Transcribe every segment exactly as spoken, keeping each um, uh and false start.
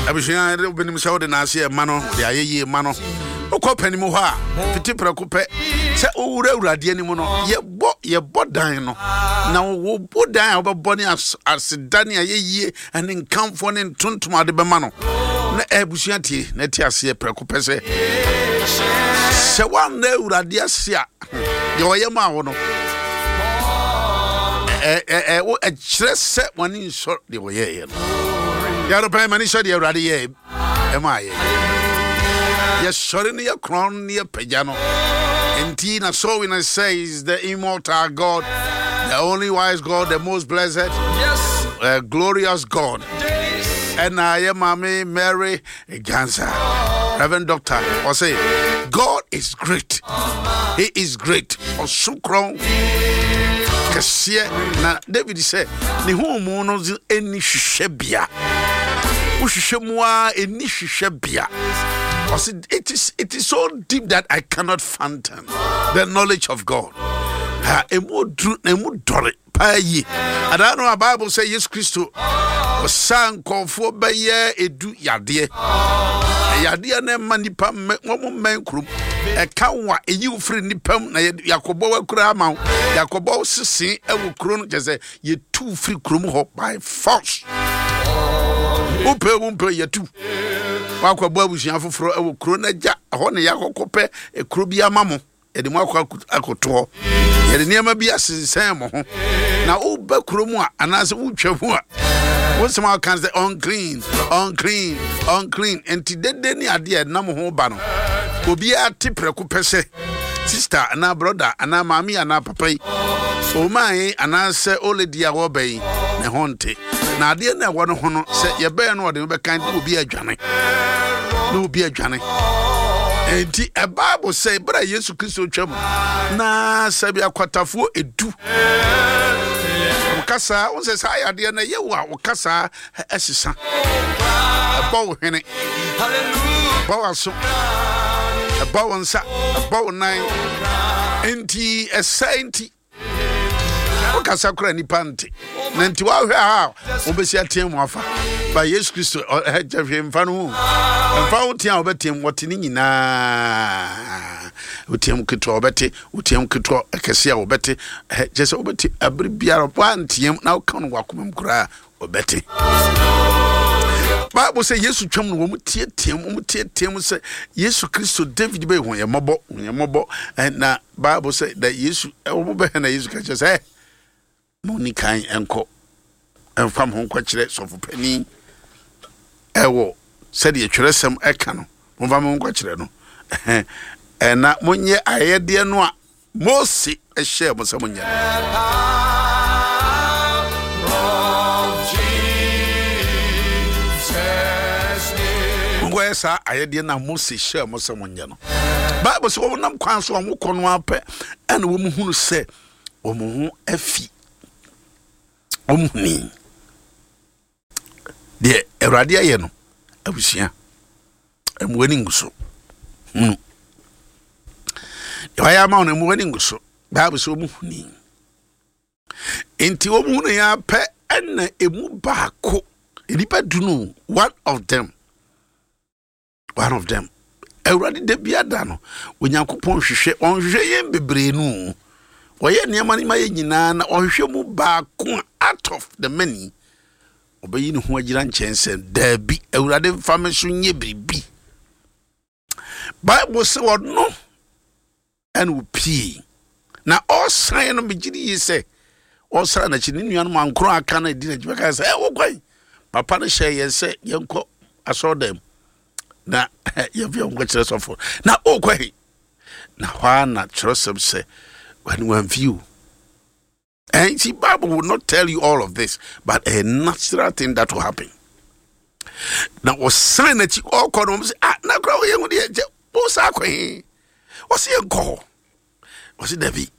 Abusua, wobɛnim sɛ wode naase ɛma no de ayɛ yie ma no. Wokɔ panim hɔ a, fiti prɛko pɛ sɛ wowura Awurade anim no, yɛbɔ yɛbɔ dan no, na wobɔ dan a wobɛbɔ ne aseda ne ayɛ yie ne nkamfoɔ ne ntontom ade bɛma no. Na abusua, tie na te aseɛ prɛko pɛ sɛ sɛ woanna Awurade ase a, deɛ ɔyɛ maa wo no, ɛkyerɛ sɛ wɔne nsɔ deɛ ɔyɛeɛ no. Yɛropɛn ma ne sɔ deɛ Awurade yɛɛ ɛma yɛ. Yɛsɔre no, yɛkorɔn no, yɛpagya no. Nti na so we says the immortal God, the only wise God, the most blessed, yes. uh, glorious God. Ɛna yɛ maame Mary Gansa, Reverend Doctor, ɔse God is great, he is great. Ɔso korɔn kɛseɛ. Na David sɛ ne ho mu no ɛni hwehwɛ bea. Wohwehwɛ mu a, ɛni hwehwɛ bea. Ɔse it is, it is so deep that I cannot fathom the knowledge of God. Ha, ɛmu duru na ɛmu dɔre paa yie. Adaa no a Bible sɛ Yesu Kristo ɔsa nkɔɔfoɔ bɛyɛ edu yadeɛ. Yadeɛ no ɛma nipa mmɛ wɔn mmɛn kurom. Ɛka wo a, ɛyi wo firi nipa mu na yɛakɔbɔ wakura ama wo, yɛakɔbɔ wo sese ɛwɔ kuro no. Kyɛ sɛ yɛtu firi kurom hɔ by force. Wopɛ wo mpɛ, yɛtu wakɔbɔ abusua foforɔ ɛwɔ kuro no agya ɛhɔ, na yɛakɔkɔ pɛ kuro bi ama mo. Yɛde mo akɔ akɔto hɔ, yɛde nneɛma bi asensɛn mo ho, na woba kuro mu a anaasɛ wotwa mu a, wo nsɛm a woka sɛ "Unclean, unclean, unclean." Nti dede ne adeɛ a ɛnam ho ba no, obiara te prɛko pɛ sɛ sister anaa brother anaa maame anaa papa yi ɔmaa anaasɛ olady a wɔba yi ne ho nte. Na adeɛ no a ɛwɔ no ho no, sɛ yɛbɛyɛ no, ɔde no bɛka ne obi adwane, na obi adwane. Nti ɛbible sɛ berɛ a Yesu Kristo twa mu na sɛbi akwatafoɔ edu, wokasa wo sɛ saa yadeɛ no ɛyɛ wo a, wokasa ɛsesa, ɛbɔ wo hwene, ɛbɔ w'aso, ɛbɔ wo nsa, ɛbɔ wo nan. Nti ɛsɛ nti wokasa kora nipa nte. Na nti woahwɛ a, wobɛsi ateɛ mu afa ba Yesu Kristo ɛkyɛ hwee mfa no ho mfa wo. Tea a wobɛteam, wɔte ne nyinaa. Woteam ketewa, wɔbɛte. Woteam ketewa ɛkɛse a, wɔbɛte. Kyɛ sɛ wobɛte abere biara. Woanteam na woka no wakoma mu koraa, wɔbɛte. Bible sɛ Yesu twam no, wɔn tietiem, wɔn tietiem sɛ, "Yesu Kristo, David bɛyɛ, hu yɛn mmɔbɔ, hu yɛn mmɔbɔ." Na Bible sɛ da Yesu wɔn bɛhɛ na Yesu ka kyerɛ sɛ mo ni kan nkɔ ɛnfa mo ho nkɔkyerɛ sɔfo panin ɛwɔ sɛdeɛ twerɛsɛm ɛka no. Momfa mo ho nkɔkyerɛ no, ɛna monyɛ ayɛdeɛ no a Mose ɛhyɛɛ mo sɛ monyɛ no. Monkɔyɛ saa ayɛdeɛ no a Mose hyɛɛ mo sɛ monyɛ no. Bible sɛ wɔnam kwan so a wɔkɔ no apɛ, ɛna wɔn hunu sɛ wɔn ho afi. Wɔn huni deɛ Awurade ayɛ no. Abusua, ɛmu ani ngu so. Hunu deɛ wayɛ ama wo no, ɛmu ani ngu so. Bible sɛ wɔn huni. Nti wɔn hunu yɛn apɛ, ɛna emu baako, nipa du no, one of them one of them Awurade da bi ada no, Onyankopɔn hwehwɛ, ɔnhwehwɛ yɛn bebree no. Ɔyɛ nneɛma no ma yɛ nyinaa, na ɔhwehwɛ mu baako a out of the many ɔbɛyi ne ho agyina nkyɛn sɛ, "Daabi, Awurade mfa me so nyɛ biribi." Bible sɛ ɔno ɛna opie na ɔsan no. Megye di yie sɛ ɔsan n'akyi, ne nuanom ankoro aka no adi n'akyi bɛka sɛ, "Ɛ wokwan papa no hyɛ yɛn sɛ yɛnkɔ asɔredan mu na yɛmfa yɛn nkɔkyerɛ sɔfo, na ɔrekɔ he?" Na hɔ a na kyerɛsɛm sɛ wɔne wamfi o. And see, Bible will not tell you all of this, but a natural thing that will happen. Na ɔsan n'akyi ɔrekɔ no, wɔn sɛ, "Ah, na kora wɔyɛ ho deɛ kyɛ wɔsa akɔ he?" Wɔsi yɛn kɔ hɔ. Wɔsi dabi,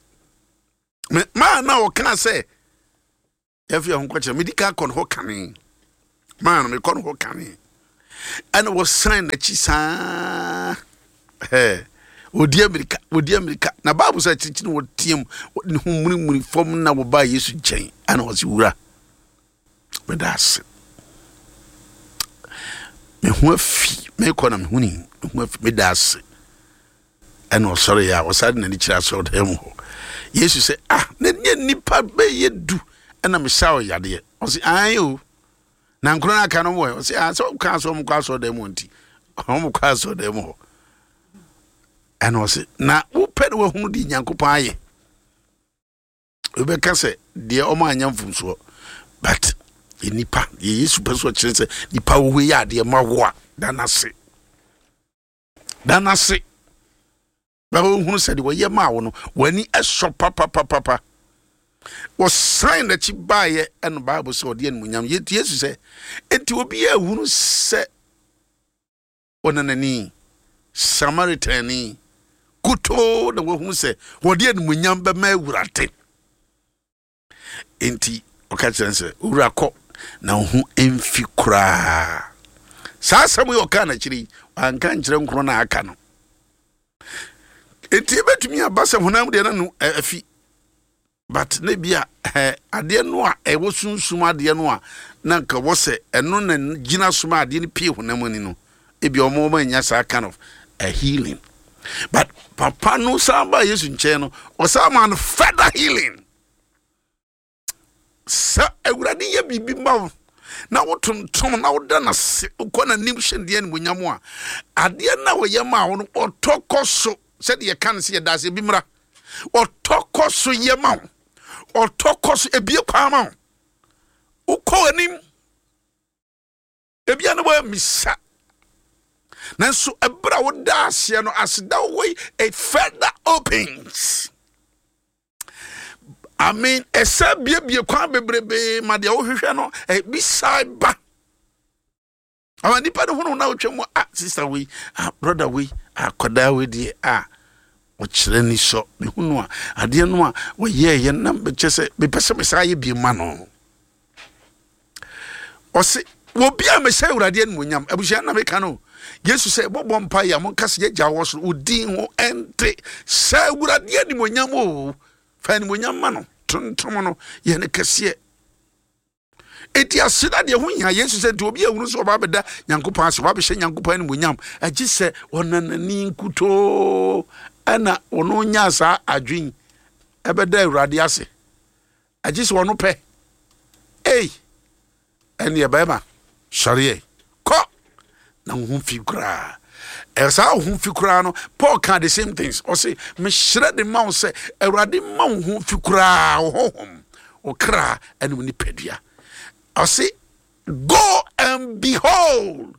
maa na ɔka sɛ yɛfi ɛho nkɔkyerɛ medi ka kɔ no hɔ kane. Maa no mekɔ no hɔ kane, ɛna wɔsan n'akyi saa ɛɛ odi amirika, odi amirika. Na Bible sɛ akyirikyiri wɔteam ne ho murimuri fam na wɔbaa Yesu nkyɛn, ɛna wɔsi, "Wura, meda ase." Me ho afi, mekɔ na mehu ni, me ho afi, meda ase. Ɛna ɔsɔre yɛ a ɔsare n'ani kyerɛ asɔredan mu hɔ. Yesu sɛ, ah, na nyɛ nnipa bɛyɛ du ɛna mesa ɔyadeɛ. Ɔse, ae o, na nkoro no aka no wɔ. Ɔse, ah, sɛ ɔka sɛ ɔmo kɔ asɔredan mu nti ɔmo kɔ asɔredan mu hɔ. Ɛna ɔse, na wopɛ ne wahunu de Nyankopɔn ayɛ. Wobɛka sɛ deɛ ɔmo anya mfomsoɔ, but nipa deɛ Yesu pɛ so ɔkyerɛ sɛ nipa wo yɛ adeɛ ma wo a, da n'ase, da n'ase, bɛbɛ wohunu sɛ deɛ wɔyɛ maa wo no w'ani ɛsɔ papapapapa. Wɔsan n'akyi baayɛ, ɛno Bible sɛ ɔde animuonyam yɛnti Yesu sɛ enti obiara ehunu sɛ ɔnanani Samaritani kutoo na wahunu sɛ wɔde animuonyam bɛma Awurade. Enti ɔka kyerɛ no sɛ, owura, kɔ na wo ho mfi koraa. Saa asɛm yi ɔkaa n'akyiri yi, wanka nkyerɛ nkoro no a aka no. Enti ebɛtumi aba sɛ honam deɛ no no afi, but ne bi a ɛ adeɛ no a ɛwɔ sunsum adeɛ no a na nka wɔ sɛ ɛno na gyina so ma adeɛ no pie honam ani no, ebi ɔmo ɔmo anya saa kind of a healing. But papa no san ba Yesu nkyɛn no, ɔsan ma no further healing. Sɛ Awurade yɛ biribi ma wo na wotontom na woda n'ase, wokɔ n'anim hyɛ deɛ animonyam a, adeɛ no a wɔyɛ maa wo no, ɔtɔ kɔ so. Sɛdeɛ yɛka no sɛ yɛda ase, ebi mmra, ɔtɔ kɔ so yɛ ma wo, ɔtɔ kɔ so ebie kwan ma wo, wokɔ anim. Ebia no wɔamisa, nanso ɛberɛ a woda aseɛ no, aseda wɔ yi, it further opens, I mean, ɛsɛ biebie kwan bebrebee ma deɛ wohwehwɛ no ebi saa ba ama nipa no hunu na wotwa mu. Ah, sister wei, ah, brother wei, ah, kɔdaa wei deɛ, ah, ɔkyerɛ ni sɔ mehunu a adeɛ no a wɔyɛɛyɛ na kyɛ sɛ mepɛ sɛ mesaa yɛ bie ma no. Ɔse wɔbi a mehyɛ Awurade animonyam. Abusua na meka no, Yesu sɛ bɔbɔ mpa yɛ a, monka sɛ, yɛgya wɔ soro, wo din ho ɛnte sɛ. Awurade animonyam o, fa animonyam ma no, tontom no, yɛ ne kɛseɛ. Enti aseda deɛ ho hia. Yesu sɛ nti obi ahunu sɛ ɔba bɛda Nyankopɔn ase, ɔba bɛhyɛ Nyankopɔn animonyam, agye sɛ ɔnanani nkutoo ɛna ɔno nyaa saa adwen ɛbɛda Awurade ase, agye sɛ ɔno pɛ. Ei, ɛneɛ bɛrima, sɔreɛ kɔ na wo ho fi koraa. Saa wo ho fi koraa no, Paul ka the same things. Ɔse, mehyerɛ de ma wo sɛ Awurade ma wo ho fi koraa, wo honhom, wo kra ɛne wo nipadua. Ɔse, go and behold.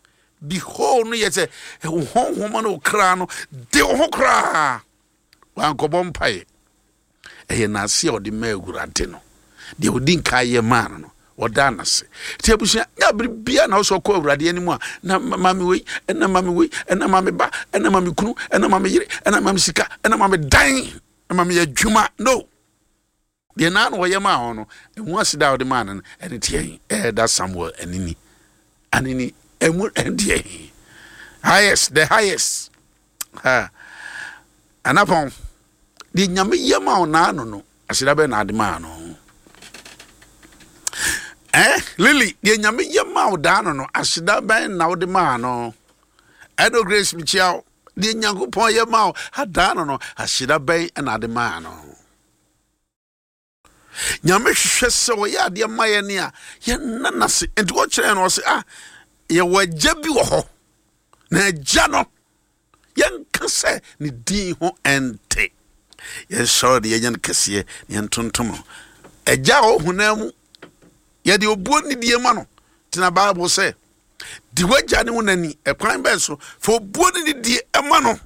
Behold no yɛ sɛ wo honhom ne wo kra no de wo ho koraa. Wankɔbɔ mpaeɛ, ɛyɛ n'ase a ɔde ma Awurade no. Deɛ ɔdi nka yɛ maa no no ɔda n'ase. Nti abusua, nya bere bia na wosɛ ɔkɔ Awurade anim a, na maame wei, ɛna maame wei, ɛna maame ba, ɛna maame kunu, ɛna maame yere, ɛna maame sika, ɛna maame dan, ɛna maame adwuma no deɛ naa na ɔyɛ maa hɔ no, ɛho aseda a ɔde maa no no ɛne teɛ. Ɛɛda Samuel anini anini ɛmu ɛdeɛ highest, the highest ha anapɔn deɛ Nyame yɛ ma wo naa no no aseda bɛɛ na ade maa no. Eh, Lily, deɛ Nyame yɛ ma wo daa no no aseda bɛn na wode maa no? Ɛdo Grace, mekyia wo. Deɛ Nyankopɔn yɛ ma wo adaa no no aseda bɛn na ade maa no? Nyame hwehwɛ sɛ ɔyɛ adeɛ ma yɛ ne a yɛnna n'ase. Nti wɔkyerɛ no, ɔse, ah, yɛwɔ agya bi wɔ hɔ, na agya no yɛnka sɛ ne din ho ɛnte, yɛnsɔre de yɛnyɛ no kɛseɛ na yɛntontom no. Agya a ɔhonam mu, yɛde obuo nidie ma no. Tena Bible sɛ di w'agya ne wo nani. Ɛkwan bɛn so? Fa obuo ne nidie ɛma no,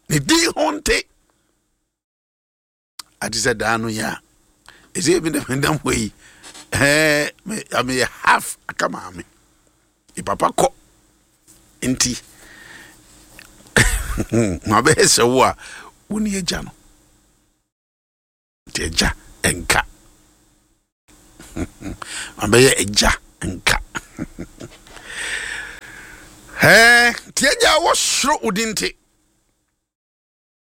ne din ho nte. Ate sɛ daa no yɛ a ɛsɛ bi na menam hɔ yi, ɛɛ meyɛ half aka maame ne papa kɔ, nti mabɛyɛ sɛ wo a wo ne agya no. Nti agya nka mabɛyɛ agya nka. Ɛɛ nti agya a wɔsoro wo din nte,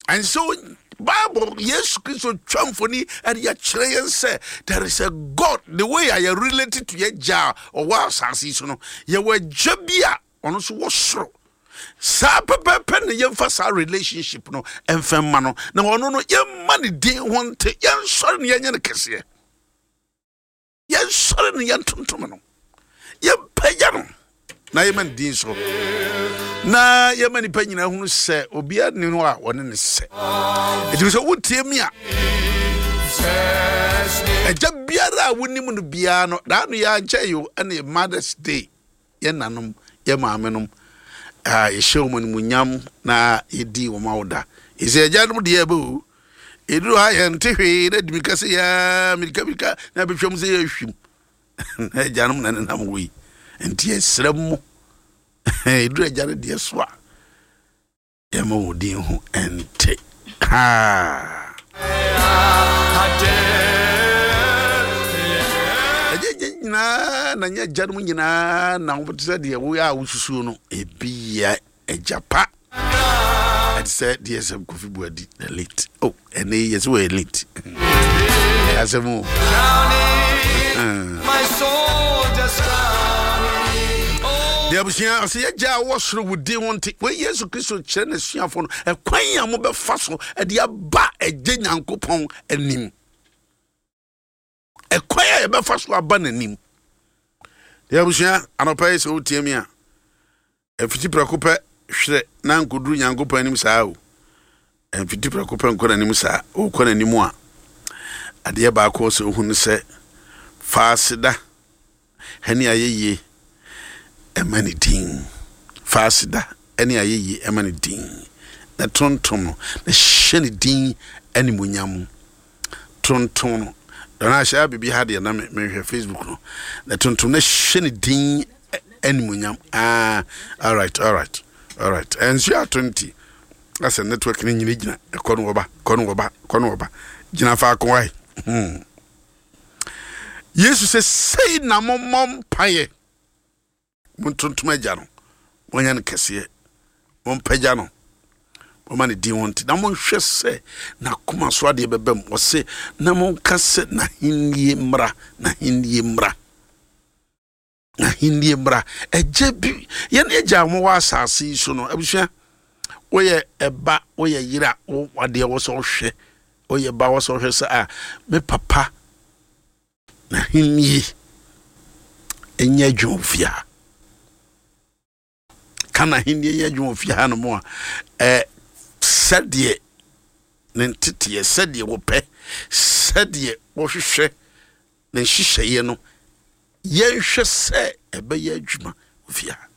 ɛnsɛ Bible, Yesu Kristo twa mfoni ɛde akyerɛ yɛn sɛ there is a God. The way a yɛ related to yɛ gya a ɔwɔ asase yi so no, yɛwɔ agya bi a ɔno nso wɔ soro. Saa pɛpɛɛpɛ na yɛmfa saa relationship no ɛmfa mma no, na ɔno no yɛmma ne din ho nte, yɛnsɔre ne yɛnyɛ no kɛseɛ, yɛnsɔre ne yɛntontom no, yɛmpagya no na yɛma ne din so, na yɛma nipa nyinaa hunu sɛ obiara nni hɔ a ɔne ne sɛ. Ɛtumi sɛ wotie mi a, agya biara a wonim no biara no, daa no yɛankyɛ yi o, ɛne Mother's Day, yɛ nanom, yɛ maamenom a yɛhyɛ wɔn animuonyam na yɛdi wɔn awoda. Ɛsɛ agyanom deɛ ɛbɛ o, ɛduru ha yɛnte hwee na di mirika sɛ yɛa mirika mirika na bɛtwam sɛ yɛhwim na agyanom na nenam wɔ yi. Nti yɛsrɛ mo, ɛduru agya no deɛ so a, yɛma wo din ho ɛnte ha. Ɛgye gye nyinaa na nyɛ agyanom nyinaa na wɔte sɛ deɛ woyɛ a wosusuo no, ebi yɛ agya pa. Ɛte sɛ deɛ sɛ Kofi Buadi the late. Oh, ɛnɛ yi yɛsɛ wɔyɛ late. Ɛyɛ asɛm o. My soul just drowning. Oh, Deɛ abusua ɔsɛ yɛgya a wɔ soro wo din ho nte. Wei Yesu Kristo kyerɛ n'asuafoɔ no ɛkwan a mobɛfa so ɛde aba agye Nyankopɔn anim, ɛkwan a yɛbɛfa so aba n'anim. Deɛ abusua, anɔpa yi sɛ wotie mi a, ɛfiti prɛko pɛ hwerɛ na nkɔduru Nyankopɔn anim saa o. Ɛmfiti prɛko pɛ nkɔ n'anim saa. Wokɔ n'anim a, adeɛ baako sɛ wohu no sɛ fa aseda ɛne ayɛyie ɛma ne din. Fa aseda ɛne ayɛyie ɛma ne din, na tontom no, na hyɛ ne din animuonyam. Tontom no dɔn ahyɛ biribi ha deɛ na me- mehwɛ Facebook no, na tontom na hyɛ ne din ɛ- animuonyam. Ah, alright alright alright ɛnso ato nti asɛ network no nyina gyina ɛkɔ no wɔba, kɔ no wɔba, kɔ no wɔba, gyina faako wae. hmm. Yesu sɛ sei na mommɔ mpaeɛ: montontom agya no, monyɛ no kɛseɛ, mompagya no, momma ne din ho nte, na monhwɛ sɛ n'akoma so adeɛ bɛba mu. Ɔse na monka sɛ n'ahennie mmra, n'ahennie mmra, n'ahennie mmra. Ɛgya bi yɛne agya a wɔwɔ asase yi so no, abusua, woyɛ ɛba, woyɛ yere a, wo adeɛ wɔ sɛ wohwɛ, woyɛ ba wɔ sɛ wohwɛ sɛ a me papa n'ahennie ɛnyɛ adwuma wɔ fie ha, ka n'ahennie nyɛ adwuma wɔ fie ha no mu a, ɛ sɛdeɛ ne nteteɛ, sɛdeɛ wɔpɛ, sɛdeɛ wɔhwehwɛ ne nhyehyɛeɛ no, yɛnhwɛ sɛ ɛbɛyɛ adwuma wɔ fie ha.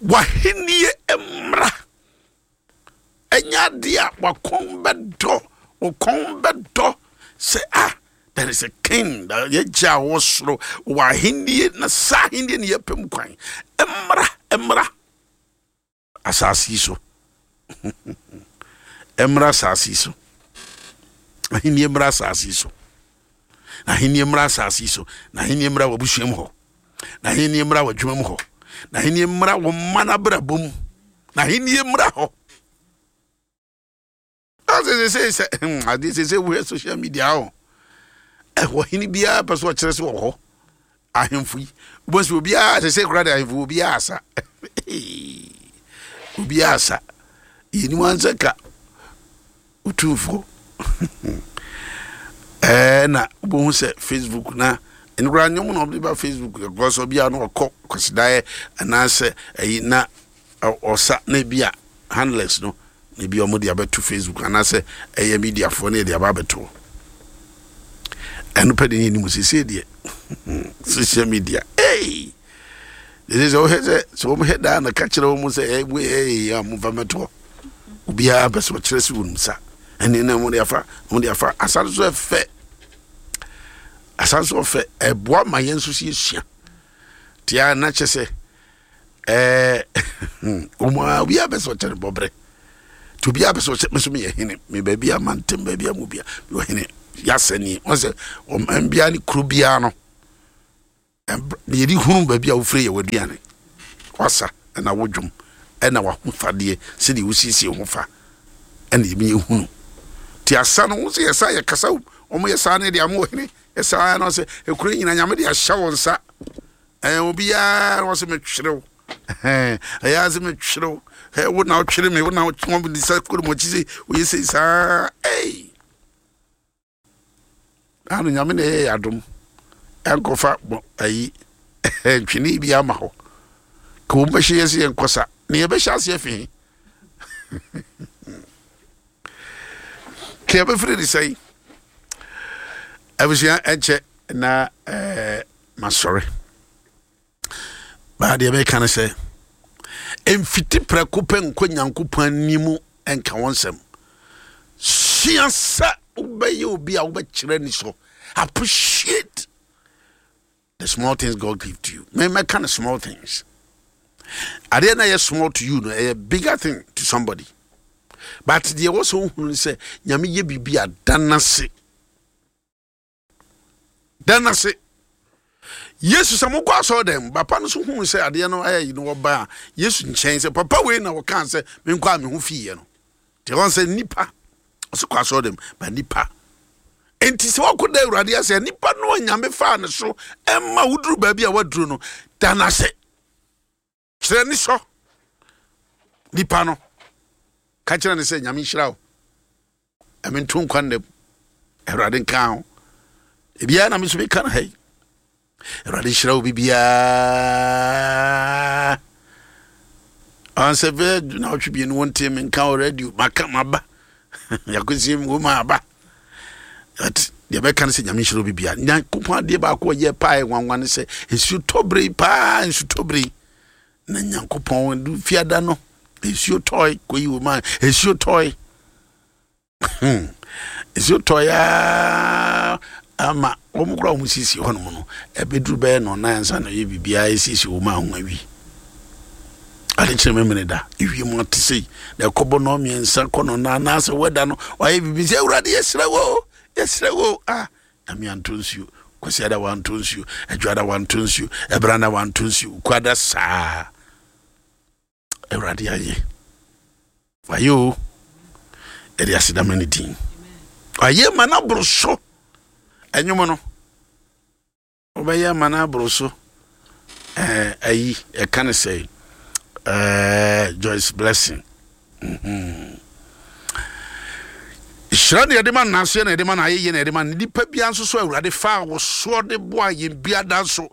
W'ahennie mmra ɛnyɛ adeɛ a wakɔn bɛdɔ, wɔkɔn bɛdɔ sɛ ah, there is a king that yɛgya a wɔ soro wɔ ahennie, na saa ahennie ne yɛpɛ mu kwan. Mmra, mmra asase yi so, mmra asase yi so, ahennie mmra asase yi so, na ahennie mmra asase yi so, na ahennie mmra w'abusua mu hɔ, na ahennie mmra w'adwuma mu hɔ, na ahennie mmra wo mma n'abrabɔ mu, na ahennie mmra hɔ. Sɛ sɛ sɛ hmm, adeɛ sɛ sɛ wohwɛ social media hɔ, ɛwɔ hene biara pɛ so ɔkyerɛ sɛ wɔ hɔ. Ahemfo yi wobɛhu sɛ obiara sɛ sɛ kora de ahemfo, obiara asa, obiara asa. Yɛnim ansɛ ka Otumfoɔ ɛɛ na wobɛhu sɛ Facebook na ɛno koraa nnwom na ɔde ba Facebook, because obiara no ɔkɔ kwasidaeɛ anaasɛ ɛyi na ɔ- ɔsa na ebi a handlers no na ebi a wɔde abɛto Facebook anaasɛ ɛyɛ mediafoɔ na yɛde aba abɛto hɔ. Ɛno pɛ de ne anim siesie deɛ social media. Hey! Ɛsɛ sɛ wohwɛ sɛ sɛ wɔhwɛ daa na ka kyerɛ wɔn sɛ ɛyɛ ɛyɛ a momfa mmɛto hɔ. Obiara pɛ sɛ ɔkyerɛ sɛ wɔnim sa ɛne na wɔde afa wɔde afa asa no so. Ɛfɛ asa no so ɔfɛ, ɛboa ma yɛn nso so yɛsua tia na kyɛ sɛ ɛɛ wɔn a obiara pɛ sɛ ɔkyerɛ bɔbrɛ nti obiara pɛ sɛ ɔkyerɛ me nso meyɛ hene, me baabi a mantem, baabi a mu bia meyɛ hene. Yɛasɛ nie wɔn sɛ ɔman biara ne kuro biara no, yɛde hunu baabi a wofiri yɛ w'aduane, wasa ɛna wo dwom ɛna w'ahofadeɛ, sɛdeɛ wosiesie ho fa. Ɛna yɛmi ehunu ti asa no, wɔn sɛ yɛsa yɛ kasa, wɔn yɛ saa ne deɛ ama ɔhene yɛ saa na ɔsɛ ekuro nyina Nyame de ahyɛ wɔn nsa. Ɛɛ obiara wɔn sɛ metwerew, ɛɛ ɛyɛ ase metwerew, ɛɛ wo na ɔtwere me, wo na ɔtwe wɔn de sa kuro mu akyi sɛ oyɛ sɛ saa. Ɛy ano Nyame na ɛyɛ yɛ adom, ɛnkɔfa bɔ ayi ntwene bi ama hɔ ka wɔn bɛhyɛ yɛ sɛ yɛn kɔsa na yɛbɛhyɛ aseɛ fi ka yɛbɛfiri ne sɛn. Abusua, ɛnkyɛ na ɛɛ masɔre baa. Deɛ mɛka no sɛ mfiti prɛko pɛ nkɔ Nyankopɔn anim ɛnka wɔn nsɛm. Sua sɛ wobɛyɛ obi a wobɛkyerɛ ni so. Appreciate the small things God give to you. Me mɛka no, small things adeɛ na ɛyɛ small to you no, ɛyɛ bigger thing to somebody. But deɛ ɛwɔ sɛ wohunu no sɛ Nyame yɛ biribi a, da n'ase, da n'ase. Yesu sɛ mokɔ asɔre dɛm, papa no so huu sɛ adeɛ no ayɛ yi no, wɔba a Yesu nkyɛn sɛ, "Papa wei na wɔkaa sɛ menkɔ a me ho fiiɛ no." Nti wɔn sɛ nipa ɔsɛ kɔ asɔre dɛm ba nipa. Nti sɛ wɔkɔ da Awurade ase, nipa no a Nyame faa ne so ɛma woduru baabi a waduru no, da n'ase, kyerɛ ne sɔ nipa no, ka kyerɛ ne sɛ, "Nyame nhyira wo, ɛme nto nkwa nnam, Awurade nka ho." Ebiara na me nso meka no ha yi, Awurade nhyira wo bibiaa. Ansɛ bɛɛ na ɔtwe bienu wɔnte me nka wɔ radio, maka maba yɛakɔsie mu wɔ aba. But deɛ bɛka no sɛ Nyame nhyira wo bibia. Nyankopɔn adeɛ baako a ɔyɛ paa yɛ nwanwa ne sɛ nsuo tɔbere yi paa, nsu tɔbere yi na Nyankopɔn du fiada no nsuo tɔe kɔyi wɔ mu a, nsuo tɔe, nsuo tɔe aa ama wɔn koraa wɔn siesie hɔnom no, ɛbɛduru bɛyɛ no nan ansa na ɔyɛ biribiara esiesie wɔn a ho awi ade kyerɛ mɛmene da ewiem ate sei na ɛkɔbɔ no mmiɛnsa kɔ no nan anaasɛ wɛda no wayɛ biribi sɛ, "Awurade, yɛsrɛ wo, yɛsrɛ wo." Ah, Nyame anto nsuo. Kwasiada wanto nsuo, Adwada wanto nsuo, Ɛbrana wanto nsuo, Kwada saa. Awurade ayɛ, wayɛ o. Yɛde asedama ne din, wayɛ ma no aboro so. Ɛnwom no wobɛyɛ ma no aboro so. ɛɛ ayi ɛka ne sɛ ɛɛ Joyce Blessing. mhm. Hyira ne yɛde ma nnaseɛ na yɛde ma no ayɛyie na yɛde ma no nipa bia nso so. Awurade fa wo soɔ de boa yɛn bia da nso.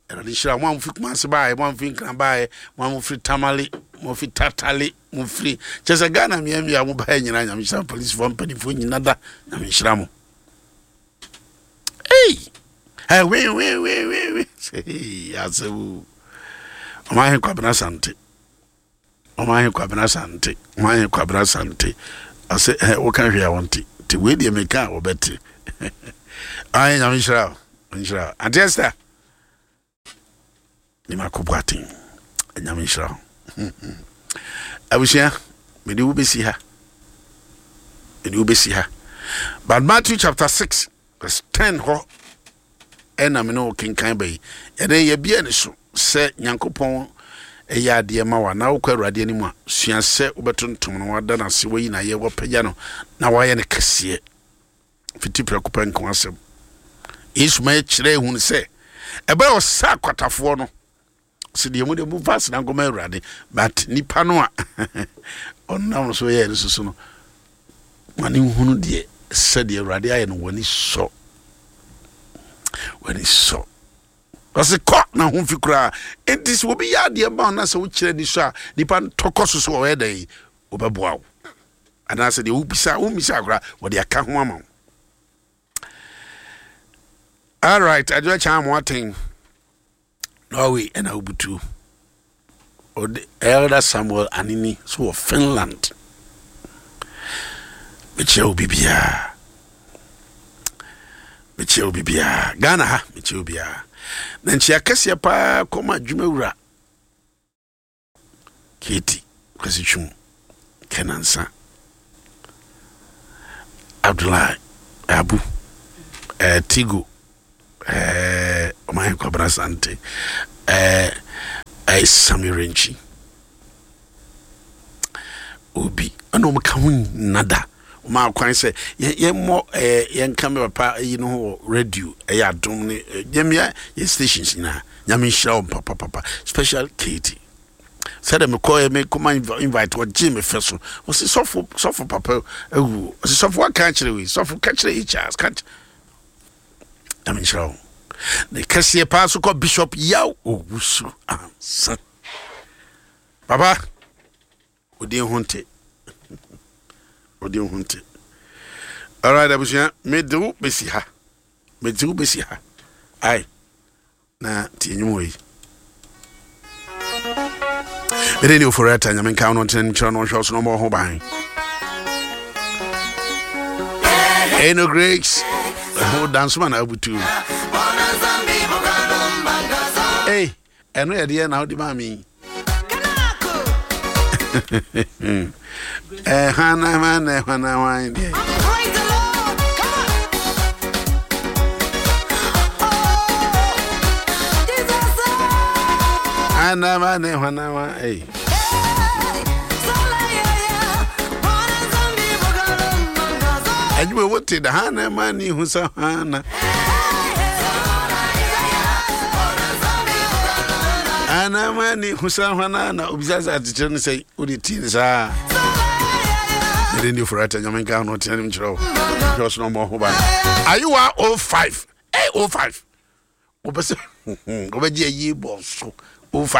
Awurade nhyira mo a mofiri Kumase baeɛ, mo a mofiri Nkran baeɛ, mo a mofiri Tamale, mo firi Tatale, mo firi kyɛ sɛ Ghana mmeammea mo baeɛ nyinaa. Nyame nhyira mo. Polisifoɔ mpanimfoɔ nyina da, Nyame nhyira mo. Ei, ɛ we we we we we sɛ asɛm. Ɔman Kwabena Sante, Ɔman Kwabena Sante, Ɔman Kwabena Sante ɔsɛ ɛ woka hwee a wɔnte, nti wei deɛ meka a wɔbɛte. Ayɛ, Nyame nhyira wo, nhyira wo. Auntie Esther ne mako boaten, Nyame nhyira wo. Abusua, mede wo bɛsi ha, mede wo bɛsi ha. But Matthew chapter six verse ten hɔ ɛna me ne wo kenkan ba yi. Ɛnɛ yɛbia ne so sɛ Nyankopɔn ɛyɛ adeɛ ma wa na wokɔ Awurade anim a, sua sɛ wobɛtontom no, wada no ase, wayi nayɛ, wapagya no na wayɛ no kɛseɛ. Fiti prɛko pɛ nko asɛm Yesu ma yɛkyerɛ ehunu sɛ ɛbɛyɛ ɔsa akwatafoɔ no sɛ deɛ mu de mu fa asena nkɔma Awurade, but nipa no a ɔnam so yɛ no soso no ma ne nhunu deɛ sɛdeɛ Awurade ayɛ no, w'ani sɔ, w'ani sɔ. Ɔsɛ kɔ na ho fi koraa. Enti sɛ obi yɛ adeɛ ma wo na sɛ wokyerɛ ni so a, nipa no tɔkɔ so so ɔyɛ dɛn wɔbɛboa wo, anaasɛ deɛ wobisa wommisa koraa wɔde aka ho ama wo. Alright, Adwoa Kyan mo aten Norway ɛna wobutu ɔde Elder Samuel Anini so wɔ Finland. Mekyerɛ wo bibiaa, mekyerɛ wo bibiaa. Ghana ha mekyerɛ wo biaa na nkyia kɛseɛ paa kɔma adwumawura Keti Kwasi Twum Kɛnansa Abdullahi Abu eh, Tigo eh, Ɔman Kwabena Sante eh, eh, Sami Renkyi. Obi ɛna ɔmo ka ho nada ɔmo akwan sɛ yɛmmɔ ɛɛ yɛnka me papa yi no ho wɔ radio. Ɛyɛ Adom ne yɛmmea yɛ stations nyinaa. Nyame nhyira wɔn papapapa, special Katie. Sɛdeɛ mekɔɛ mekɔma invite, ɔgye me fɛ so. Ɔsi sɔfo, sɔfo papa awu. Ɔsi sɔfo waka akyerɛ wei, sɔfo ka kyerɛ yi, Charles ka kyerɛ. Nyame nhyira wɔn. Ne kɛseɛ paa so kɔ Bishop Yaw Owusu Ansa. Papa, odin ho nte, odin ho nte. Alright, abusua, mede wo bɛsi ha, mede wo bɛsi ha. Ai na tie nnwom wɔ yi. Mede ne Ofori Ata. Nyame nka wo no, ntena nkyerɛ no, ɔhwɛ wo so na ɔmmɔ wo ho ban. Ɛno Grace ho dansoma na abutu. Ei, ɛno yɛ deɛ na wode maa me. Hwana hwana hwana hwan deɛ? Praise the Lord. Come on. Oh, Jesus. Hwana hwana hwana hwan? Ei. Hey, Sola, yeah, yeah. Bona zambi bugalo mangazo. Adwuma wote da hana ma ne hu sɛ hana Hey, yeah, yeah. Bona zambi bugalo hana ma ne hu sɛ hwana na obisa sɛ atekyerɛ no sɛ wode tii ne saa. Sola, yeah, yeah. Mede ne Ofori Ata. Nyame nka no, ɔtena nim kyerɛ wo, hwɛ wo so na ɔmmɔ ho ban. Ayewa oh five eh oh five, wopɛ sɛ wobɛgye ayi bɔ so oh five.